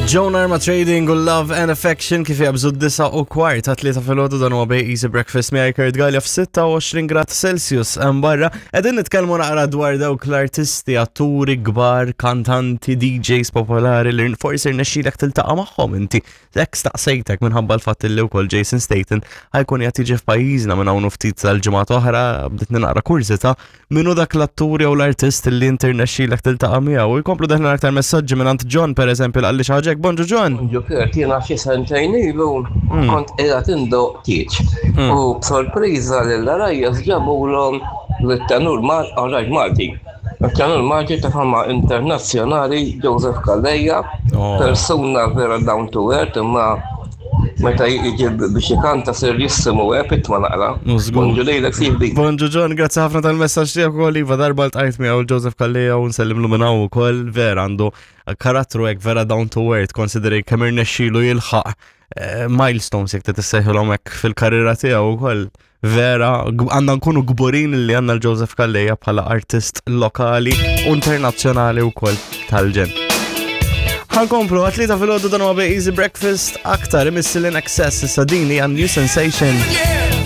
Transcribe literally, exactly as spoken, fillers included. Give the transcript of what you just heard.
Joan Arma Trading u Love and Affection kif jabżu d-disa u kwart ta' tlieta filgħodu. Dan huwa Bay Easy Breakfast miegħi Kurt Gallia f'sitta u għoxrin grad Celsius hemm barra. Qegħdin nitkellmu naqra dwar dawk l-artisti, atturi kbar, kantanti, D Js popolari li forsi rnexxilek tiltaqa' magħhom inti. Hekk staqsejtek minħabba l-fatt li wkoll Jason Statham ħa jkun qed jiġi f'pajjiżna minn hawn ftit tal-ġimgħat oħra. Bdiet naqra kurżità minnu dak l-attur jew l-artist li inti rnexxilek tiltaqa' miegħu. U jkomplu deħlin aktar messaġġi minn John, pereżempju, qalli xi ħaġa. Bonġu, John. Bonġu Kurt, jiena xi sentejn ilu kont qiegħed indoqq tieġ. U b'sorpriża lill-għarajjes ġabulhom l-tenur Mal Malti. Il-tenur Malti ta' fama internazzjonali, Joseph Calleja, Oh. persuna vera down to earth, imma meta jiġi biex ikanta serjissimu pitma naqra. Żgur. Bonġu lejlek, sieħbi. Bonġu John, grazzi ħafna tal-messaġġ tiegħek ukoll. Iva, darba ltqajt miegħu Joseph Calleja u nsellimlu minn hawn ukoll. Vera għandu karattru hekk vera down to earth, considering kemm irnexxielu jilħaq eh, milestones, jekk tissejħilhom hekk, fil-karriera tiegħu wkoll. Vera, għandna nkunu kburin li għandna l-Joseph Calleja bħala artist lokali u internazzjonali wkoll tal-ġenn. Ħa nkomplu, għat-tlieta filgħodu, dan huwa Easy Breakfast, aktar imissil I N X S, issa din hija New Sensation. Yeah.